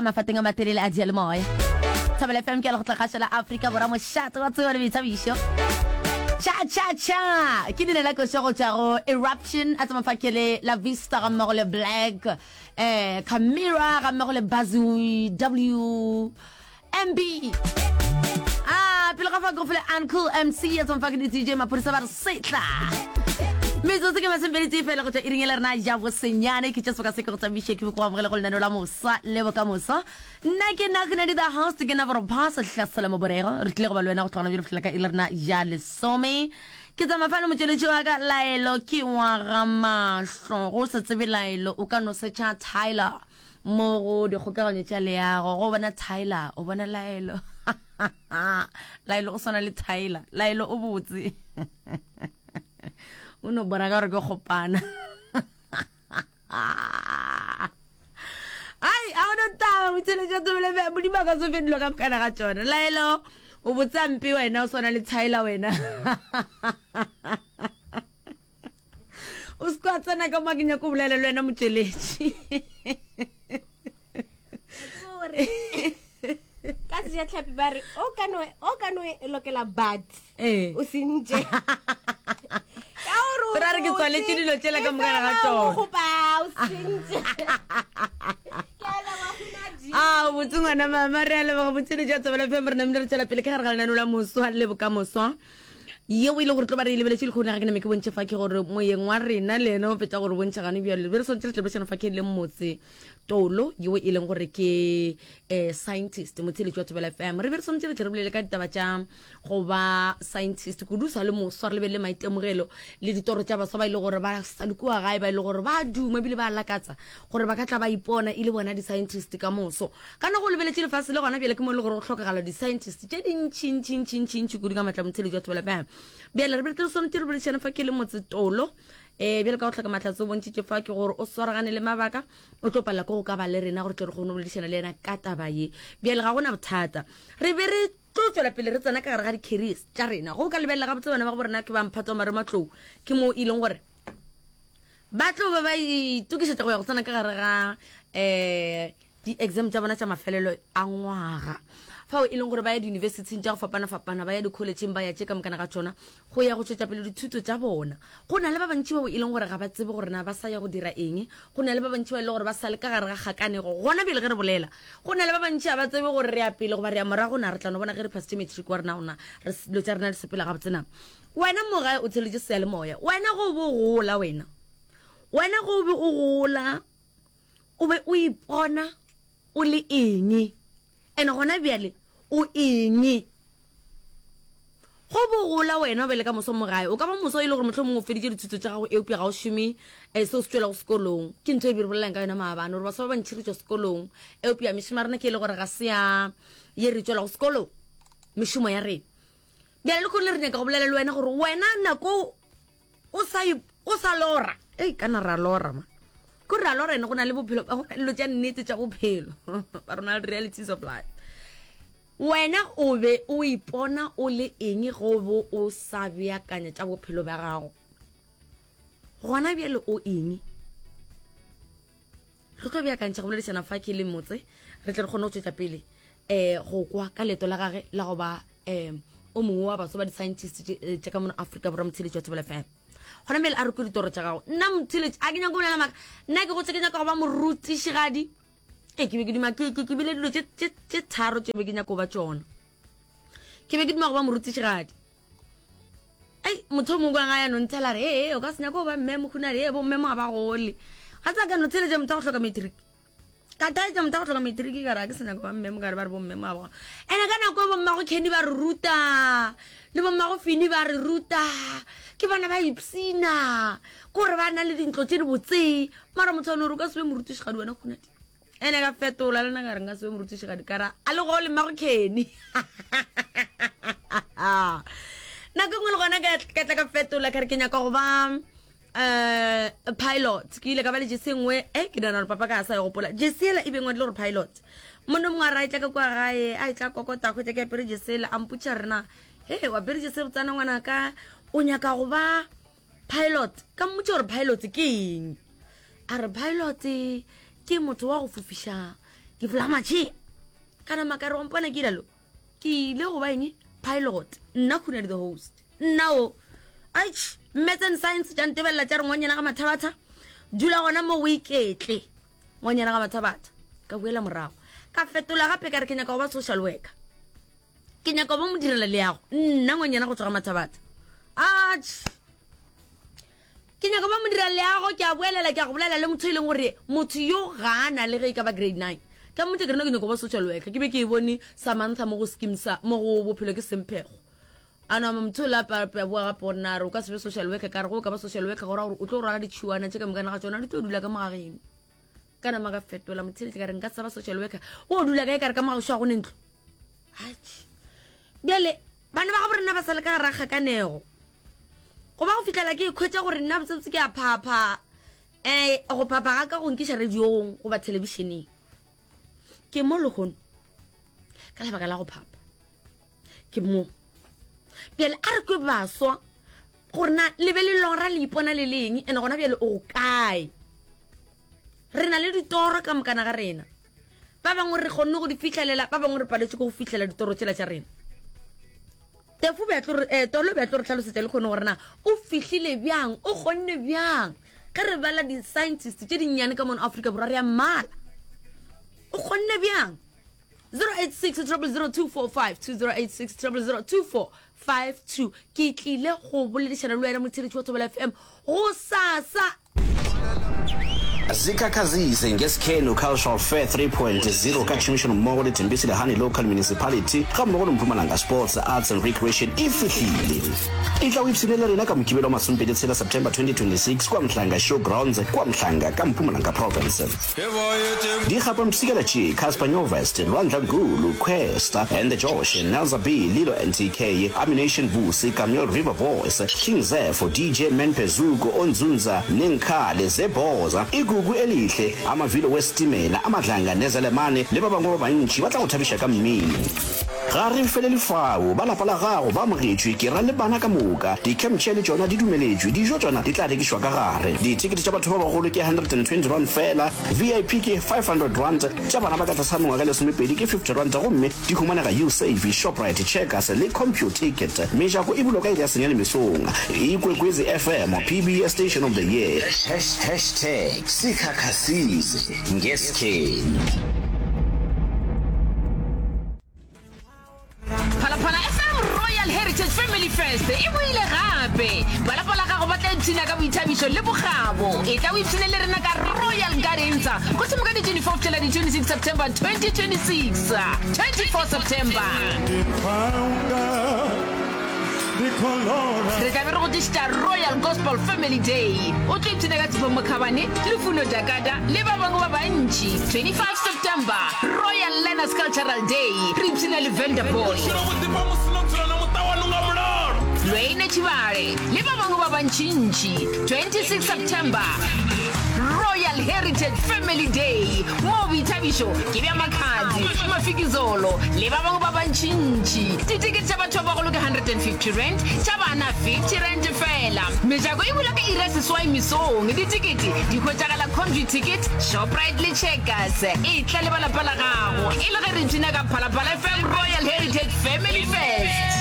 ka mafateng a matelele a diyalemoya. Thobela FM ke ya lekgotla kgašo la Afrika Borwa mošate wa tsebo le boithabišo. Cha cha cha ke leina la košo go tšwa go Eruption a tsama fa ke le La Vista ga mmogo le Black eh Camira ga mmogo le Bazoo W MB Ah, pele ga fa go fele Uncle MC ya tsong fa ke di-DJ maphodisa ba re setla metsotso ke masomepedi tee fela go tšwa iring e le rena ja bosenyane ke tša seboka se ke go tsamaiše ke go amogele go lenaneo la mosa le bokamoso nna ke nna Kgunadi the host ke nna boropha sehlasela moborego re tlile go ba le wena go tlogana bjale fihlela ka iri le rena ja lesome ke tsamaya fano motšweletši wa ka laelo ke wa ga mahlo go sa tsebe laelo o ka no setšha Tyler Mo go dikgokaganyo tša leago, go bona Tyler, o bona Laelo. Laelo o swana le Tyler. Laelo o botse. O no bona ka gore ke kgopana. Ai, a gona taba, motšheletša tsebele be, Modimo a ka se fe dilo ka mokana ga tšona. Laelo, o botsa mpe wena, o swana le Tyler wena. O se kwa tsena ka mo ke nyako bolela le wena motšweletši. Gore ka sejatlhapi ba re o ka no o ka no e lokela but Ee. o sentše ka gore o Ra re ke botse, tswaletše dilo tšela ka e mokana ga fela o tšona. gopa, o sentše Ke a leboga, Hunadi. a botse ngwana mama re a leboga motšweletši wa Thobela FM re namile re tšwela pele ka gare ga lenaneo la moswa le bokamoso Yeo e le gore tlo ba re e lebeletše lehono ga ke name ke bontšhe fa ke gore moyeng wa rena le yena o fetša gore bontšha gane bjale be re swantše re tlebešana fa ke le motse tolo yeo e leng gore ke eh, scientist motheletši wa Thobela FM re be re swantše re tle re bolele ka ditaba tša go ba scientist kudu sa le moswa re lebelele maitemogelo le ditoro tša baswa ba e le gore ba sa le kua gae ba e le gore ba duma ebile ba lakatsa gore ba ka tla ba ipona e le bona di-scientist ka moso Ka no go lebeletše lefase le gona bjale ke mo e le gore go hlokagala di-scientist tše dintšintšintšintšintši kudu ka matla motheletši wa Thobela FM. Bjale re be re swanetše re boledišane fa ke le motsetolo um bjale ka go hloka mahlatse o bontšhitše fa ke gore o swaragane le mabaka o tlo palela ke go ka ba le rena gore tle re kgone go boledišana le yena ka taba ye. Bjale ga gona bothata re be re tlo tswela pele re tsena ka gare ga di-careers tša rena go ka lebelela gabotse bana ba go rena ke ba mphato wa marematlou ke mo e leng gore ba tlo ba ba itokišetša go ya go tsena ka gare ga um di-exam tša bona tša mafelelo a ngwaga fao e leng gore ba ya diyunibesithing tša go fapana-fapana ba ya dikholetšheng ba ya tše ka mokana ga tšona go ya go tšwetša pele dithuto tša bona go na le ba bantši bao e leng gore ga ba tsebe gore na ba sa ya go dira eng go na le ba bantši ba e leng gore ba sa le ka gare ga kgakanego gona bjale ge re bolela go na le ba bantši ga ba tsebe gore re ya pele goba re ya morago na re tla no bona ge re phasitše matric wa rena gona re dilo tša rena di sepela gabotse na wena mo gae o tsheletše seyalemoya wena go bo gola wena wena go be o gola O be o ipona o le eng? And gona bjale o eng? Go bogola wena o be le ka moso mo gae. O ka ba moso e le gore mohlomongwe o feditše dithuto tša gago eupša ga o šome eh, seo se tšwelago sekolong. Ke ntho e be re bolelang ka yona maabane gore baswa ba bantši re tšwa sekolong eupša mešomo ya rena ke e le gore ga se ya ye re tšwelago sekolong mešomo ya rena. Bjale le kgone re nyaka go bolela le wena gore wena nako o sa o sa lora ei kana ra lora ma ko ra lora ene go na le bophelo ba go na dilo tša nnete tša bophelo ba rona le realities of life wena o be o ipona o le eng go bo o sa beakanya tša bophelo bja gago gona bjale o eng Re tlo beakantšha go boledišana fa ke le motse re tle re kgone go tšwetša pele um go kwa ka leeto la gage la go ba um o mongwe wa batho ba di-scientist eh, tša ka mono Afrika Borwa motheletši wa Thobela FM. Gona mele a re kwe ditoro tša gago. Nna motheletši a ke nyako bolela maaka. Nna ke gotse ke nyaka go ba morutišigadi. Ee, ke be ke duma ke ke bile dilo tše tharo tše be ke nyako ba tšona. Ke be ke duma go ba morutišigadi. Ei, motho o mongwe ga ya no ntshela re ee o ka se nyake go ba mme mokhunadi ee bomme mo ga ba gole ga tsa ka no tsheletša motho a go hloka matric ka taetša motho a go hloka matric ka re a ke se nyako ba mme mo ka re ba re bomme mo ga ba ene ka nako e bommago Kenny ba re ruta le bommago Fini ba re ruta ke bona ba ipsina kore ba na le dintlo tše di botse mara motho wa no re o ka se be morutišigadi wena khunadi Ene ka fetola le nna ka re nka se be morutišigadi ka ra a le gole mmago Kenny. Nako e nngwe le gona ka ka tla ka fetola ka re ke nyaka go ba um pilot ke ile ka ba le jese nngwe e ke nagana gore papa ka a sa e gopola jese ela e be ngwadile gore pilot monna mongwe a re a etla ka kua gae a etla kokota hwetša ke apere jese ela a mpotša rena he wa apere jese botsana ngwanaka o nyaka go ba Pilot, ka mmotša gore pilot ke eng. A re pilot ke motho wa go fofiša Ke fula matšhe. Ka nama ka re wa mpona ke ilalo. Ke ile go ba eng? Pilot. Nna Khunadi the host. Nna o. Aitch, Maths and Science tša ntebelela tša re ngwanyana ga Mathabatha. Dula gona mo o iketle. Ngwanyana ga Mathabatha. Ka boela morago. Ka fetola gape ka re ke nyaka go ba social worker. Ke nyaka go ba modirela leago. Nna ngwanyana go tšwa ga Mathabatha. Atch. Ke nyaka ba modira leago, ke a boelela, ke a go bolela le motho e leng gore motho yo ga a na le ge e ka ba grade 9. Ka mmotša ke re no ke nyaka go ba social worker, ke be ke e bone Samantha mo go scheme sa mo go bophelo ke semphego. A nama motho o la pa pa boa gape gore na re o ka se be social worker, ka re go ka ba social worker go ra gore o tlo rwala ditšhiwana tše ka mokana ga tšona di tlo dula ka mo ga geno. Ka nama ka fetola motheletše ka re nka se ba social worker, o dula kae ka re ka mo ga gešo ga go ne ntlo. Atšhe. Bjale bana ba gabo rena ba sa le ka gara kgakanego. Go ba go fihlela ke ikhwetša gore nna botsebotse ke a phapha. Um go phapha ga ka go nkiša radiong goba thelebišeneng. Ke mo lehono ka lebaka la go phapha. Ke mo. Bjale a re kwe baswa gore na le be le lora le ipona le leng ene gona bjale o kae. Re na le ditoro ka mokana ga rena. Ba bangwe re kgonne go di fihlelela, ba bangwe re paletšwe ke go fihlela ditoro tšela tša rena. Tefu be a tlo re, eh, Tolo be a tlo re hlalosetša le kgone gore na o fihlile bjang, o kgonne bjang. Ge re bala di-scientist tše dinnyane ka mono Afrika Borwa re a mmala. O kgonne bjang? 086 0002452 086 0002452 ke tlile go boledišana le wena motheletši wa Thobela FM go sasa Zikhakhazise ngeSkhenu Cultural Fair 3.0 ka tšhomišanommogo le Thembisile Hani Local Municipality gammogo le Mpumalanga Sports, Arts and Recreation e fihlile. Etla o ipshine le rena ka Mokibelo wa masomepedi tshela September 2026 kua Mhlanga Show Grounds kua Mhlanga ka Mpumalanga Province. Dikgapampshikela tše, Cassper Nyovest, Lwandla Nkulu, Kwesta and the Josh, Nelza B, Lilo NTK, Ammunition Vusi, Kameel River Boys, King Zepho, DJ Man Phezuko, Onzunza, Nenkhale, Zebhoza, Igugu Elihle, Amavilo Wesitimela, Amadlanga Nezelemane le ba bangwe ba bantši ba tla go thabiša ka mmino. Ga re felele fao, ba lapa la gago ba amogetšwe, ke ra le bana ka moka. Di-camp chair le tšona di dumeletšwe, dijo tšona di tla rekišwa ka gare. Dithekete tša batho ba bagolo ke R120 feela, VIP ke R500, tša bana ba ka tlase ga mengwaga e lesomepedi ke R50 gomme di humanega Usave, Shoprite, Checkers le Computicket. Mejako e bulwa ka iri ya senyane mesong. Ikwekwezi FM, PBS Station of the Year. Hashtag Sikhakhasize ngeSkhenu. Phalaphala FM Royal Heritage Family Fest e boile gape. Ba lapa la gago ba tla ipshina ka boithabišo le bokgabo. Etla o ipshine le rena ka Royal Gardens go thoma ka di 24 go fihlela di 26 September 2026. 24 September. Re tla be re go tlišetša Royal Gospel Family Day. O tlo ipshina ka Tshepo Mokhabane, Lufuno Dakada le ba bangwe ba bantši. 25 September, Royal Learners Cultural Day, re ipshina le Venda Boy, Lwayne Tshibale le ba bangwe ba bantšintši. 26 September, Royal Heritage Family Day, moo boithabišo ke bja Makhadzi, Mafikizolo le ba bangwe ba bantšintši. Ditekete tša batho ba bagolo ke R150, tša bana R50 feela. Mejako e bula ka iri ya seswai mesong. Ditekete di hwetšagala Computicket, Shoprite le Checkers. Etla le ba lapa la gago e le ge re ipshina ka Phalaphala FM Royal Heritage Family Fest.